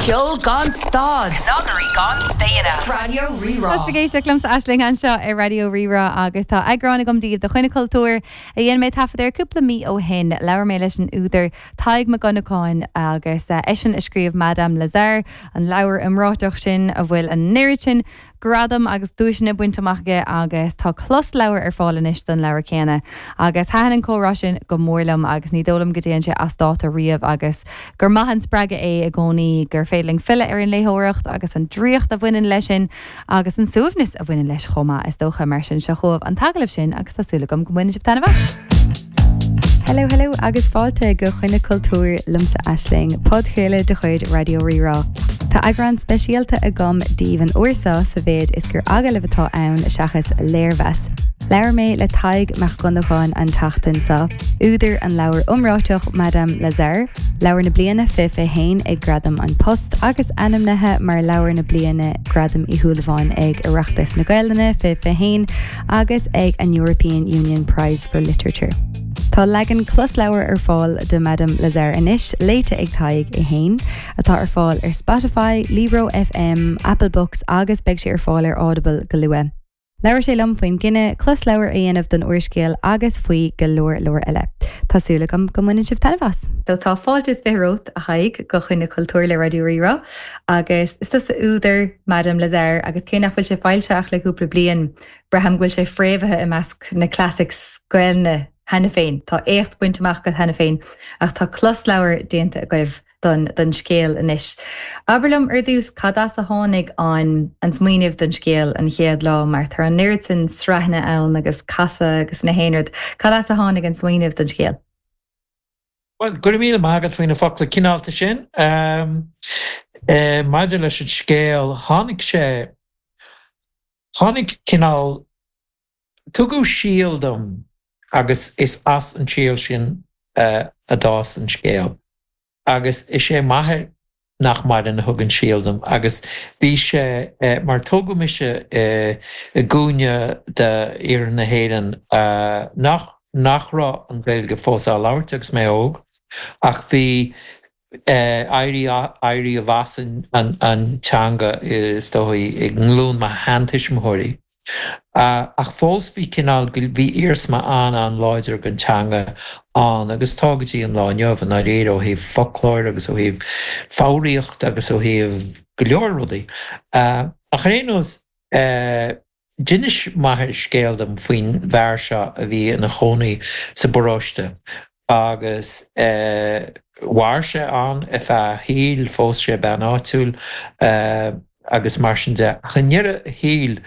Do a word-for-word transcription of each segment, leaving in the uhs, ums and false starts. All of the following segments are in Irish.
Ceol gan stad. Snagairí gan staonadh. Raidió Rí-Rá. Tá sibh ag éisteacht liomsa Aisling anseo ar Raidió Rí-Rá agus tá eagrán agam daoibh de Choinne Cultúir a dhein mé taifead ar cúpla mí ó shin labhair mé leis an údar Tadhg Mac Dhonnacháin agus eisean a scríobh Madame Lazare an leabhar iomráiteach sin a bhfuil an oiread sin gradam agus duaiseanna bainte amach aige agus tá closleabhar ar fáil anois don leabhar céanna. Agus thaitin an comhrá sin go mór liom agus ní dóigh liom go dtéann sé as dáta riamh agus gur maith an spreagadh é i gcónaí gur féidir linn filleadh ar an léitheoireacht agus an draíocht a bhaineann leis sin agus an suaimhneas a bhaineann leis chomh maith is dócha mar sin seo chugaibh an t-agallamh sin agus tá súil agam go mbainfidh sibh taitneamh as. Hello hello agus fáilte go Coinne Cultúir liomsa Aisling, podchraoladh de chuid Raidió Rí-Rá. Tá eagrán speisialta agam daoibh an uair seo sa mhéid is gur agallamh atá ann seachas léirmheas. Labhair mé le Tadhg Mac Dhonnacháin an tseachtain seo, údar an leabhar iomráiteach Madame Lazare, leabhar na bliana fiche fiche haon ag Gradam An Post agus ainmnithe mar leabhar na bliana Gradam Uí Shúilleabháin ag Oireachtas na Gaeilge fiche fiche haon agus ag an European Union Prize for Literature. Tá leagan closleabhar ar fáil de Madame Lazare anois léite ag Tadhg é féin, atá ar fáil ar Spotify, Libro FM, Apple Books agus beidh sé ar fáil ar Audible go luath. Labhair sé liom faoin gcinneadh closleabhar a dhéanamh don úrscéal agus faoi go leor leor eile. Tá súil agam go mbaineann sibh taitneamh as. Tá fáilte is fiche romhat a Thaidhg go Coinne Cultúir le Raidió Rí-Rá agus is tusa údar Madame Lazare agus cé nach bhfuil sé foilsithe ach le cúpla bliain braithim go bhfuil sé fréamhaithe i measc na classics Gaeilge cheana féin. Tá éacht bainte amach agat cheana féin ach tá closleabhar déanta agaibh don, don scéal anois. Abair liom ar dtús cad as a tháinig an an smaoineamh don scéal an chéad lá mar tá an oiread sin sraitheanna ann agus casadh agus na haon rud, Cad as a tháinig an smaoineamh don scéal? Well, go raibh míle maith agat faoi na focla cineálta sin. Um, uh, maidir leis an scéal tháinig sé tháinig cineál tugadh síol dom agus is as an síol sin uh, a d'fhás an scéal. Agus is é m'athair nach maireann a thug an síol dom agus bhí sé uh, mar tógadh mise uh, i gcúinne de iarthar na hÉireann uh, nach nach raibh an Ghaeilge fós á labhairt agus mé óg ach bhí éirí éirí amach an, an teanga is dóigh ag glúin mo sheantuismitheoirí. Uh, ach fós bhí cineál bhí iarsma an an-láidir den teanga ann agus tá go dtí an lá inniu an réir ó thaobh foclóir agus ó thaobh foghraíocht agus ó thaobh go leor rudaí. Uh, ach ar aon nós uh, D'inis m'athair scéal dom faoin bhfear seo a bhí ina chónaí sa bparóiste agus uh, mhair sé ann ar feadh a shaoil phós sé bean áitiúil uh, agus mar sin de ach i ndeireadh a shaoil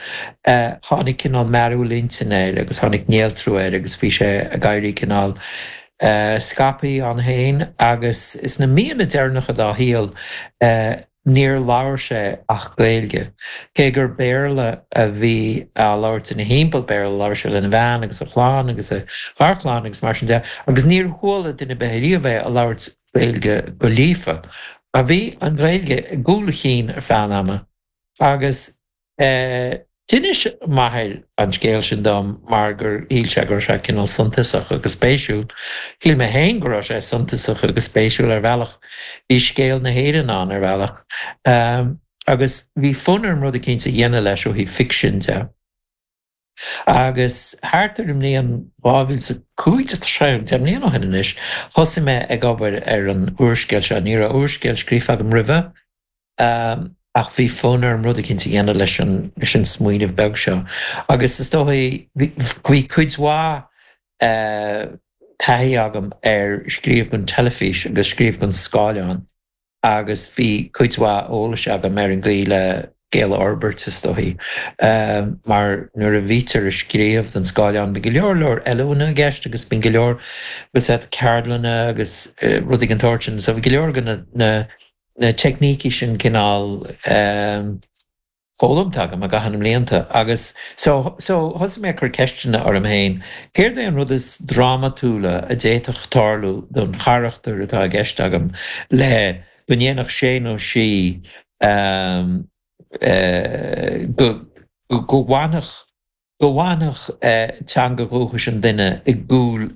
uh, tháinig cineál mearúil intinne air agus tháinig néaltrú air agus bhí sé ag éirí cineál uh, scaipthe ann féin agus sna míonna deireanacha dá shaol uh, níor labhair sé ach Gaeilge. Cé gur Béarla a bhí á labhairt ina thimpeall Béarla labhair sé lena bhean agus a chlann agus a gharchlann agus mar sin de, agus níor chuala duine ar bith riamh é ag labhairt Gaeilge go líofa. A bhí an Ghaeilge i gcúl a chinn ar feadh ama agus eh, D'inis m'athair an scéal sin dom mar gur shíl sé go raibh sé cineál suntasach agus spéisiúil. Shíl mé féin go raibh sé suntasach agus spéisiúil ar bhealach. Bhí scéal na hÉireann ann ar bhealach. Um, agus bhí fonn orm rud éicint a dhéanamh leis ó thaobh ficsin de. Agus thart ar an mbliain dhá mhíle cúig sé deich mbliana ó shin anois, thosaigh mé ag obair ar an úrscéal seo, ní raibh úrscéal scríofa agam roimhe, um, ach bhí fonn orm rud éicint a dhéanamh leis an leis an smaoineamh beag seo. Agus is dóigh bhí cuid mhaith uh, taithí agam ar scríobh don teilifís agus scríobh don scáileán agus bhí cuid mhaith eolais agam ar an gcaoi le scéal a fhorbairt is dóigh. Um, mar nuair a bhítear ag scríobh don scáileán bíonn go leor leor oiliúna i gceist agus bíonn go leor ceardlanna agus uh, rudaí den tsórt sin, so bhí go leor de na, na, na teicnící sin cineál um, foghlamtha agam i gcaitheamh na mblianta agus so so thosaigh mé cur ceisteanna orm féin céard é an rud is drámatúla a d'fhéadfadh tarlú don charachtar atá i gceist agam le go ndéanfadh sé nó sí um, uh, go go bhfanfadh go bhfanfadh uh, teanga dhúchais an duine i gcúl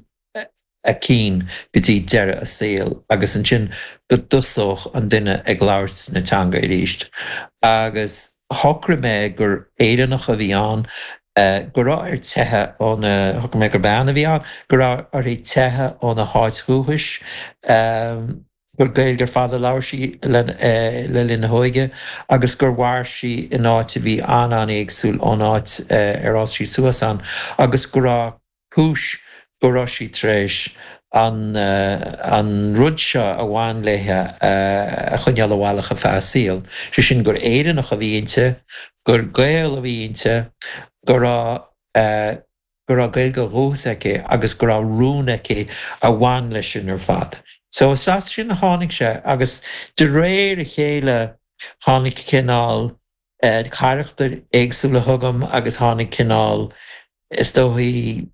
a cinn go dtí deireadh a saoil agus ansin go dtosódh an duine ag labhairt na teanga arís. Agus shocraigh mé gur Éireannach a bhí ann, go raibh uirthi teitheadh óna, shocraigh mé gur bean a bhí ann, go raibh uirthi teitheadh óna háit dhúchais, gur Gaeilge ar fad a labhair sí le linn a hóige agus gur mhair sí in áit a bhí an-an-éagsúil ón áit ar fhás sí suas ann agus go raibh cúis go raibh sí tar éis an an rud seo a bhain léi a choinneáil abhaile ar feadh a saoil, sé sin gur Éireannach a bhí inti, gur Gael a bhí inti, go raibh go raibh Gaeilge dhúchais aici agus go raibh rún aici a bhain leis sin ar fad. So is as sin a tháinig sé agus de réir a chéile tháinig cineál carachtair éagsúla chugam agus tháinig cineál is dóichí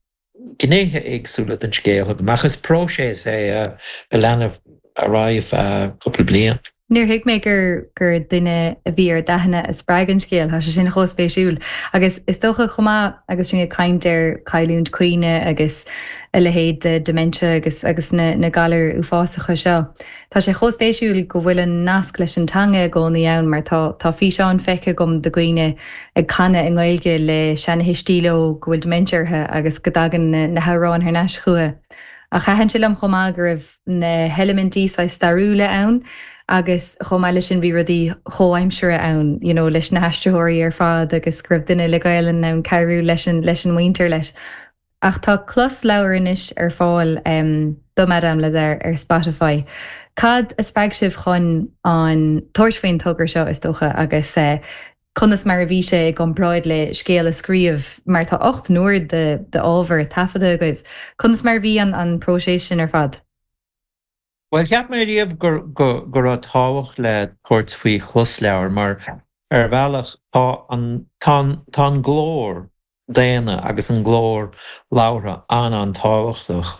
gnéithe éagsúla den scéal chugam ach is próiseas é a lean ar aghaidh feadh cúpla bliain. Níor thuig mé gur gur duine a bhí ar d'aithne a spreag an scéal, tá sé sin chomh spéisiúil. Agus is dócha chomh maith agus sinn ag caint ar cailliúint cuimhne agus a leithéid de dementia agus agus na, na galair uafásacha seo. Tá sé chomh spéisiúil go bhfuil an nasc leis an teanga i gcónaí ann mar tá tá físeáin feicthe agam de dhaoine ag canadh i nGaeilge le seanathuistí leo go bhfuil dementia orthu agus go dtagann na, na hamhráin thar n-ais chucu. Ach thaitin sé liom chomh maith go raibh na heilimintí saghas stairiúla ann, agus chomh maith leis sin bhí rudaí comhaimseartha ann, you know, leis na haistritheoirí ar fad agus go raibh duine le Gaelainn ann cabhrú leis an leis an muintir leis. Ach tá closleabhar anois ar fáil um, do Madame Lazare ar Spotify. Cad a spreag sibh chun an tabhairt faoin togra seo is dócha agus uh, conas mar a bhí sé i gcomparáid le scéal a scríobh mar tá ocht n-uair de, de ábhar taifeadta agaibh. Conas mar bhí an an próiseas sin ar fad? Well cheap mé riamh gur go go raibh tábhacht le tabhairt faoi chlosleabhar mar ar bhealach tá an tá tá an glór daonna agus an glór labhartha an-an-tábhachtach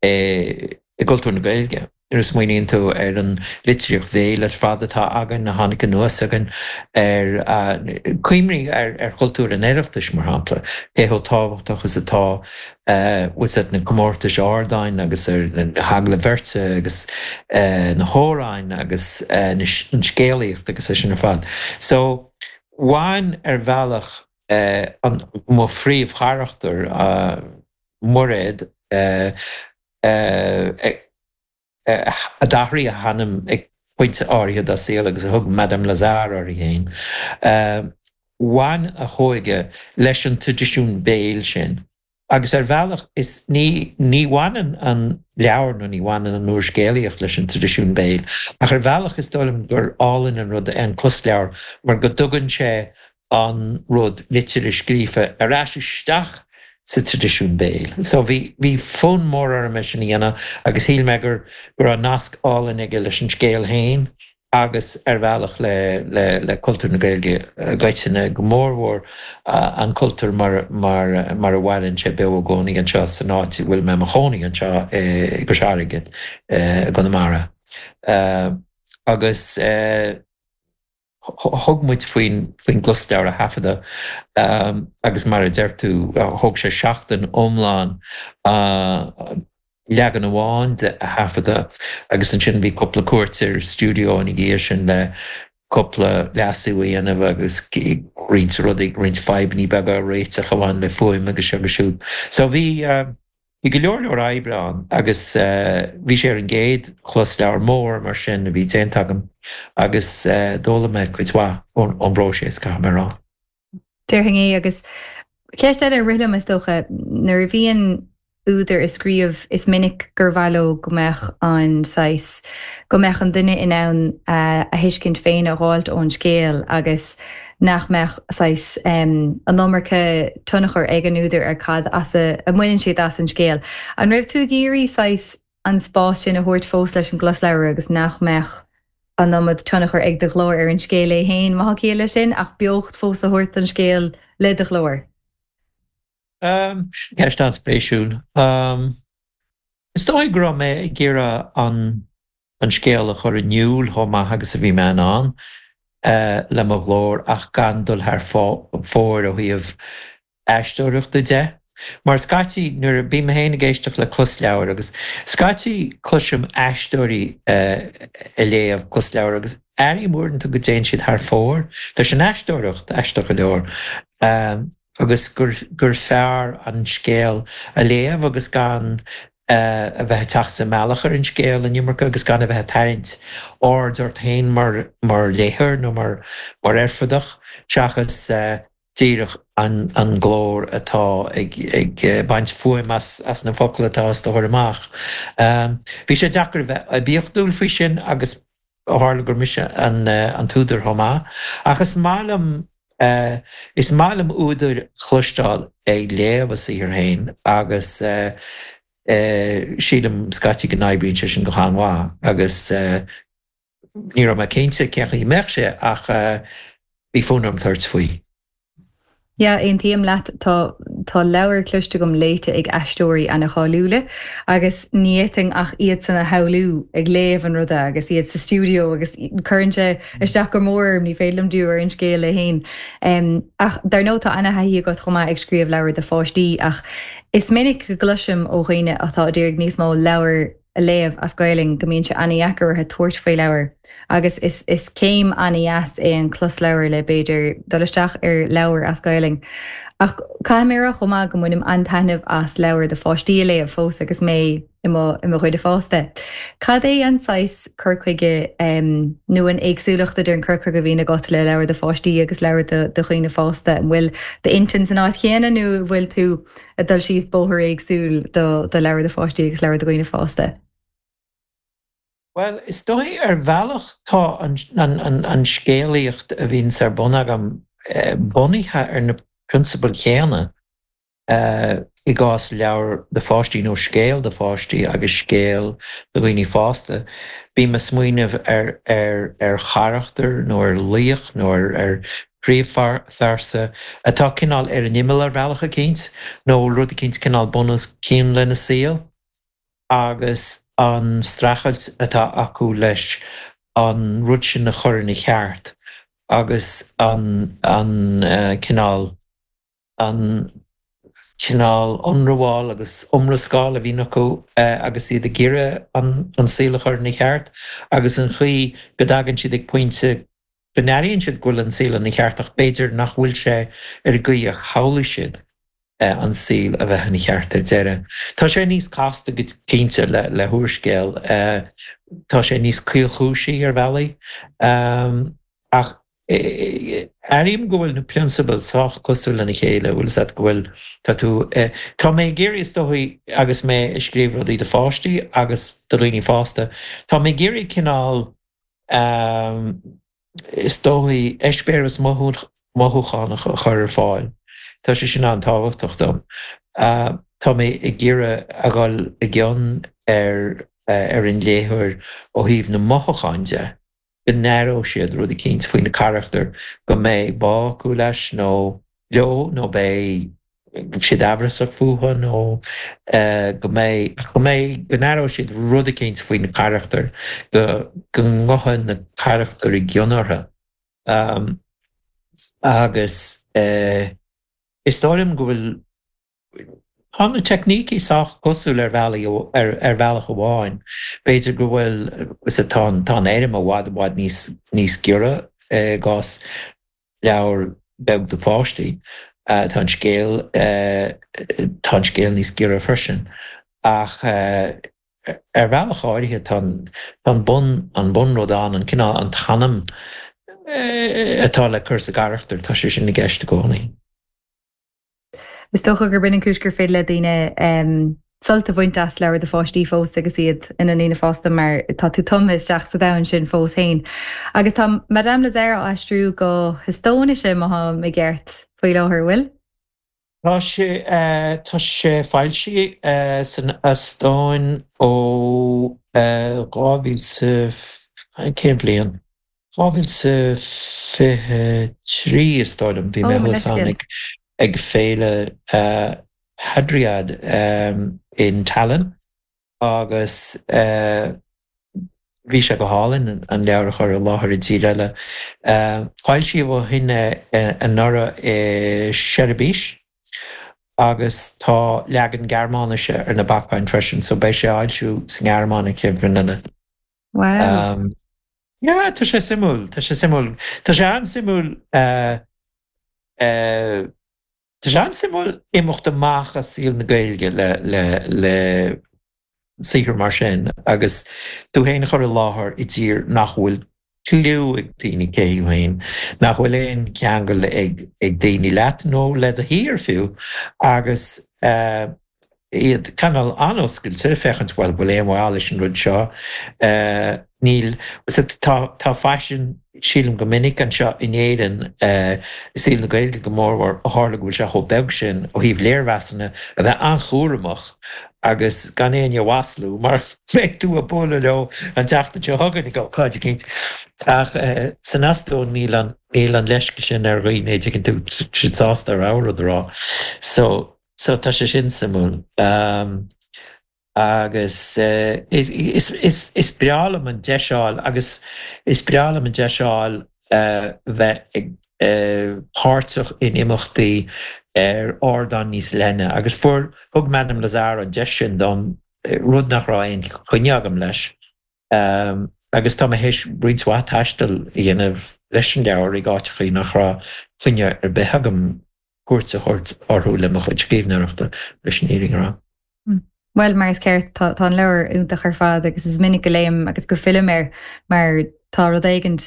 i gcultúr na Gaeilge. Nuair a smaoiníonn tú ar an litríocht bhéil ar fad atá againn a tháinig anuas againn ar cuimhnigh ar ar chultúr an Oireachtais mar shampla, cé chomh tábhachtach is atá bhfuil na comórtais ardáin agus ar na hagallaimh bheirte agus na hamhráin agus an scéalaíocht agus é sin ar fad. So bhain ar bhealach an mo phríomhcharachtar Muiréad a d'athraigh a hainm ag pointe áirithe dá saol agus a thug Madame Lazare uirthi féin. Bhain a hóige leis an traidisiún béil sin. Agus ar bhealach is ní ní bhaineann an leabhar nó ní bhaineann an úrscéalaíocht leis an traidisiún béil, ach ar bhealach is dóigh liom gur álainn an rud é an closleabhar mar go dtugann sé an rud liteartha scríofa ar ais isteach sa traidisiún béil. So bhí bhí fonn mór orm é sin a dhéanamh agus shíl mé gur go raibh nasc álainn aige leis an scéal féin agus ar bhealach le le le cultúr na Gaeilge i gcoitinne go mórmhór an cultúr mar mar mar a mhaireann sé beo i gcónaí anseo san áit a bhfuil mé i mo chónaí anseo i gCois Fharraige i gConamara. Agus thug muid faoin faoin gclosleabhar a thaifeadadh agus mar a deir tú thóg sé seachtain iomlán leagan amháin de a thaifeadadh agus ansin bhí cúpla cuairt ar stiúideo ina dhiaidh sin le cúpla leasú a dhéanamh agus roinnt rudaí roinnt fadhbanna beaga a réiteach a bhain le fuaim agus seo agus siúd. So bhí bhí go leor leor oibre ann agus bhí sé ar an gcéad chlosleabhar mór mar sin a bhí déanta agam agus d'fhoghlaim mé cuid mhaith ón ón bpróiseas caithfidh mé a rá. Déarfainn é agus ceist eile a rith liom is dócha nuair a bhíonn údar ag scríobh is minic gur mhaith leo go mbeadh an saghas go mbeadh an duine in ann a thuiscint féin a fháilt ón scéal agus nach mbeadh saghas an iomarca tionchar ag an údar ar cad as a a mbaineann siad as an scéal. An raibh tú ag iarraidh saghas an spás sin a thabhairt fós leis an gclosleabhar agus nach mbeadh an iomad tionchar ag do ghlór ar an scéal é féin má tá ciall leis sin ach beocht fós a thabhairt don scéal le do ghlór. Um, ceist an-spéisiúil. Um, is dóigh go raibh mé ag iarraidh an an scéal a chur in iúl chomh maith agus a bhí mé in ann uh, le mo ghlór ach gan dul thar fóir ó thaobh aisteoireachta de. Mar scaití nuair a bím féin ag éisteacht le closleabhar agus scaití cloisim aisteoirí ag léamh closleabhar agus airím uaireanta go dtéann siad thar fóir leis an aisteoireacht, aisteach go leor, agus gur gur fearr an scéal a léamh agus gan a bheith ag teacht sa mbealach ar an scéal an iomarca agus gan a bheith ag tarraingt aird ort féin mar mar léitheoir nó mar mar oirfideach seachas díreach an an glór atá ag ag baint fuaim as as na focail atá á dtabhairt amach. Bhí sé deacair a bheith oibiachtúil faoi sin agus ó tharla gur mise an an t-údar chomh maith. Ach is maith liom is maith liom údair a chloisteáil ag léamh a saothar féin agus sílim scaití go n-oibríonn sé sin go han-mhaith agus ní raibh mé cinnte cén chaoi a mbeadh sé ach bhí fonn orm tabhairt faoi. Yeah, aontaím leat. Tá tá leabhair cloiste agam léite ag aisteoirí an-cháiliúla agus ní fhéadfainn ach iadsan a shamhlú ag léamh an ruda agus iad sa stiúideo agus cuireann sé isteach go mór orm, ní féidir liom díriú ar an scéal é féin. Ach dar ndóigh tá ana-thaithí agat chomh maith ag scríobh leabhar do pháistí ach is minic go gcloisim ó dhaoine atá ag iarraidh níos mó leabhar a léamh as Gaelainn go mbíonn sé an-deacair orthu tabhairt faoi leabhar agus is is céim an-deas é an closleabhar le b'fhéidir dul isteach ar leabhar as Gaelainn. Ach caithfidh mé a rá chomh maith go mbainim an-taitneamh as leabhar do pháistí a léamh fós agus mé i mo i mo dhuine fásta. Cad é an saghas cur chuige nó an éagsúlacht idir an cur chuige a bhíonn agat le leabhar do pháistí agus leabhar do do dhaoine fásta? An bhfuil d'intinn san áit chéanna nó an bhfuil tú ag dul síos bóthar éagsúil do do leabhar do pháistí agus leabhar do dhaoine fásta? Bhuel, is dóigh ar bhealach tá an an an scéalaíocht a bhíonns ar bun agam bunaithe ar na prionsabail chéanna i gcás leabhar do pháistí nó scéal do pháistí agus scéal do dhaoine fásta. Bím ag smaoineamh ar ar ar charachtar nó ar laoch nó ar ar phríomhphearsa atá cineál ar an imeall ar bhealach eicínt nó rud eicínt cineál bun os cionn lena saol agus an streachailt atá acu leis an rud sin a chur ina cheart agus an an cineál an cineál ionramháil agus iomrascáil a bhíonn acu agus iad ag iarraidh an saol a chur ina cheart agus an chaoi go dtagann siad ag pointe go n-airíonn siad go bhfuil an saol ina cheart ach b'fhéidir nach bhfuil sé ar an gcaoi a shamhlaigh siad an saol a bheith ina cheart ar deireadh. Tá sé níos casta go cinnte le le húrscéal, tá sé níos caolchúisí ar bhealaí ach airím go bhfuil na prionsabail sách cosúil lena chéile, bhfuil fhios agat go bhfuil, tá tú, tá mé ag iarraidh is dóigh agus mé ag scríobh rudaí do pháistí agus do dhaoine fásta, tá mé ag iarraidh cineál is dóigh eispéireas mothúchánach a chur ar fáil. Tá sé sin an-tábhachtach dom. Tá mé ag iarraidh a dhul i gcion ar ar an léitheoir ó thaobh na mothúchán de, go n-aireoidh siad rud eicínt faoi na carachtair, go mbeidh bá acu leis nó leo nó beidh siad amhrasach fúthu nó go mbeidh, go mbeidh, go n-aireoidh siad rud eicínt faoi na carachtair, go go ngabhfaidh na carachtair i gcion orthu. Agus is dóigh liom go bhfuil, tá na teicnící sách cosúil ar bhealaí, ar ar bhealach amháin. B'fhéidir go bhfuil, tá an tá an fhoirm i bhfad i bhfad níos níos giorra i gcás leabhar beag do pháistí. Tá an scéal, tá an scéal níos giorra freisin. Ach ar bhealach áirithe tá an tá an bun an bunrud ann, an cineál an t-anam atá le cur sa gcarachtar, tá sé sin i gceist i gcónaí. Is dócha gurb in an cúis gur féidir le daoine sult a bhaint as leabhar do pháistí fós agus iad ina ndaoine fásta mar tá tú tumtha isteach sa domhan sin fós féin. Agus tá Madame Lazare á aistriú go hEastóinis má tháim i gceart faoi láthair, bhfuil? Tá sé tá sé foilsithe san Eastóin ó dhá mhíle cén bhliain? dhá mhíle fiche trí is dóigh liom, bhí mé thuas ann ag ag féile Hadriad in Tallinn agus bhí sé go hálainn an leabhar a chur i láthair i dtír eile. Foilsíodh ó shin é anuraidh i Seirbis agus tá leagan Gearmáinise ar na bacáin freisin, so beidh sé á fhoilsiú sa nGearmáin an chéad bhliain eile. Wow. Um, yeah, tá sé suimiúil, tá sé suimiúil. Tá sé an-suimiúil uh, uh, Tá sé an-suimiúil imeacht amach as saol na Gaeilge le le le saothar mar sin agus tú féin a chur i láthair i dtír nach bhfuil cliú ag daoine cé thú féin, nach bhfuil aon cheangal ag ag daoine leat nó le do thír fiú agus uh, iad cineál an-oscailte féachaint bhfuil bhfuil aon mhaith leis an rud seo. Uh, níl tá tá faisean sílim go minic anseo in Éirinn uh, i saol na Gaeilge go mórmhór ó tharla go bhfuil sé chomh beag sin ó thaobh léirmheasanna a bheith an-chúramach agus gan éinne a mhaslú mar beidh tú ag bualadh leo an tseachtain seo chugainn ag ócáid eicínt. Ach uh, san Eastóin níl an níl an leisce sin ar dhaoine tuigeann tú siad sásta a rud a rá. So so tá sé sin suimiúil. Um, agus uh, is, is, is, is breá liom an deis a fháil agus is breá liom an deis a fháil uh, bheith ag uh, páirteach in imeachtaí ar ardán níos leithne agus fuair thug Madame Lazare an deis sin dom rud nach raibh aon choinne agam leis. Um, agus tá mé théis roinnt mhaith taistil a dhéanamh leis an leabhar ag áiteachaí nach raibh coinne ar bith agam cuairt a thabhairt orthu le mo chuid scríbhneoireachta leis an fhírinne a rá. Well mar is ceart tá an leabhar iontach ar fad agus is minic go léim agus go fillim air mar tá rud éigin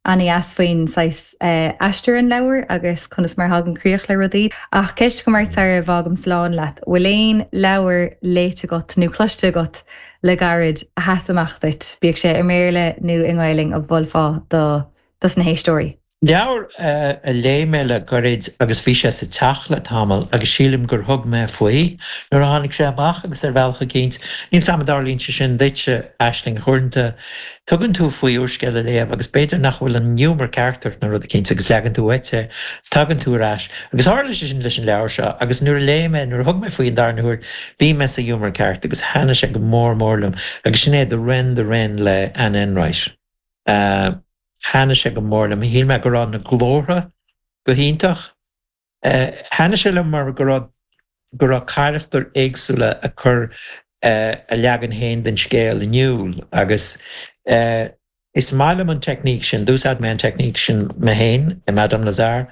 an-deas faoin saghas uh, aistear an leabhar agus conas mar thagann críoch le rudaí. Ach ceist go mar sar a bhfágaim slán leat, bhfuil aon leabhar léite agat nó cloiste agat le gairid a sheas amach duit, bíodh sé i mBéarla nó i nGaeilge a mholfá do dos na héisteoirí. Leabhar uh, a léigh mé le gairid agus bhí sé sa teach le tamall agus sílim gur thug mé faoi nuair a tháinig sé amach agus ar bhealach eicínt. Níl a fhios agam an dtarlaíonn sé sin duitse Aisling uaireanta tugann tú faoi úrscéal a léamh agus b'fhéidir nach bhfuil an giúmar ceart ort nó rud eicínt agus leagann tú uait é is tagann tú ar ais. Agus tharla sé sin leis an leabhar seo agus nuair a léigh mé nuair a thug mé faoi an darna huair bhí mé sa ghiúmar ceart agus thaitnigh sé go mór mór liom agus sin é The Wren the Wren le Anne Enright. Uh, Thaitnigh sé go mór liom, shíl mé go raibh na glórtha go hiontach. Uh, Thaitnigh sé liom mar go raibh go raibh carachtair éagsúla ag cur uh, a leagan féin den scéal in iúl agus uh, is maith liom an teicníc sin d'úsáid mé an teicníc sin mé féin i Madame Lazare.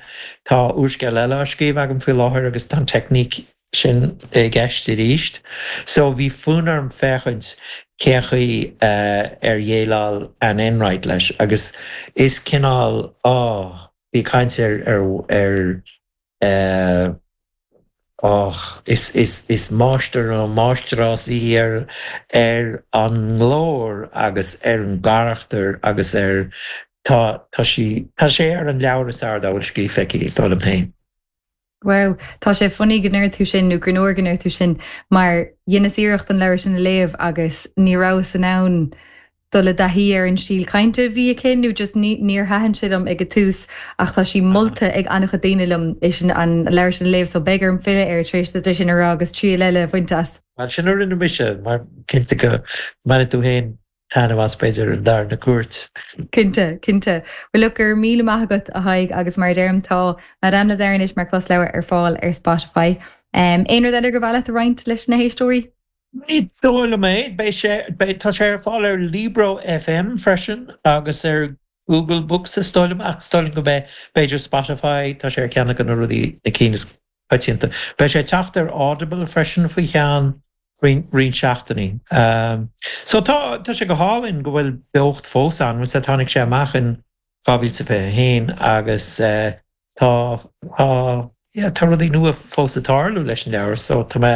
Tá úrscéal eile á scríobh agam faoi láthair agus tá an teicníc sin i gceist arís. So bhí fonn orm féachaint cén chaoi uh, ar dhéileáil Anne Enright leis agus is cineál á bhí caint ar ar ar uh, Och, is, is, is máistir nó máistreás í ar ar an nglór agus ar an gcarachtar agus ar tá tá sí tá sé ar an leabhar is fearr dá bhfuil scríofa aici is dóigh liom féin. Wow, tá sé funny go ndeir tú sin nó gur nóir go ndeir tú sin mar dheineas iarracht an leabhar sin a léamh agus ní rabhas in ann dul i dtaithí ar an stíl cainte bhí aici nó just níor thaitin sé liom ag an tús ach tá sí molta ag an-chuid daoine liom é sin an leabhar sin a léamh so beidh orm filleadh air tar éis duit sin a rá agus triail eile a bhaint as. Well sin a rinne mise mar cinnte go mbainfidh tú féin taitneamh as b'fhéidir an darna cuairt. Cinnte, cinnte. Well look go raibh míle maith agat a Thaidhg agus mar deirim tá Madame Lazare anois mar closleabhar ar fáil ar Spotify. Um, Aon rud eile gur mhaith leat a roinnt leis na héisteoirí? Ní dóigh liom é, beidh sé beidh tá sé ar fáil ar Libro FM freisin agus ar Google Books is dóigh liom ach is dóigh liom go mbeidh b'fhéidir Spotify tá sé ar ceann de na rudaí na cinn is coitianta. Beidh sé ag teacht ar Audible freisin faoi cheann roinnt seachtainí. Um, so tá tá sé go hálainn go bhfuil beocht fós ann, se tháinig sé amach in dhá mhíle fiche haon agus uh, tá tá yeah, tá rudaí nua fós ag tarlú leis an leabhar, so tá mé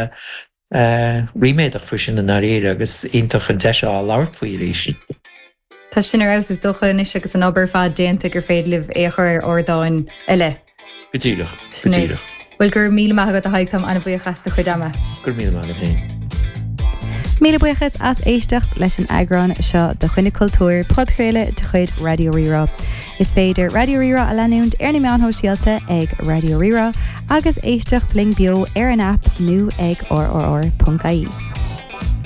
uh, ríméadach faoi sin i ndáiríre agus iontach an deis a labhairt faoi arís. Tá sin ar fheabhas is dócha anois agus an obair fad déanta gur féidir libh é a chur ar ardáin eile. Go díreach, go díreach. Well go raibh míle maith agat a Thaidhg táim an-bhuíoch as do chuid ama. Go raibh míle maith agat féin. Míle buíochas as éisteacht leis an eagrán seo de Choinne Cultúir podchraoladh de chuid Raidió Rí-Rá. Is féidir Raidió Rí-Rá a leanúint ar na meáin shóisialta ag Raidió Rí-Rá agus éisteacht linn beo ar an aip nó ag rrr.ie.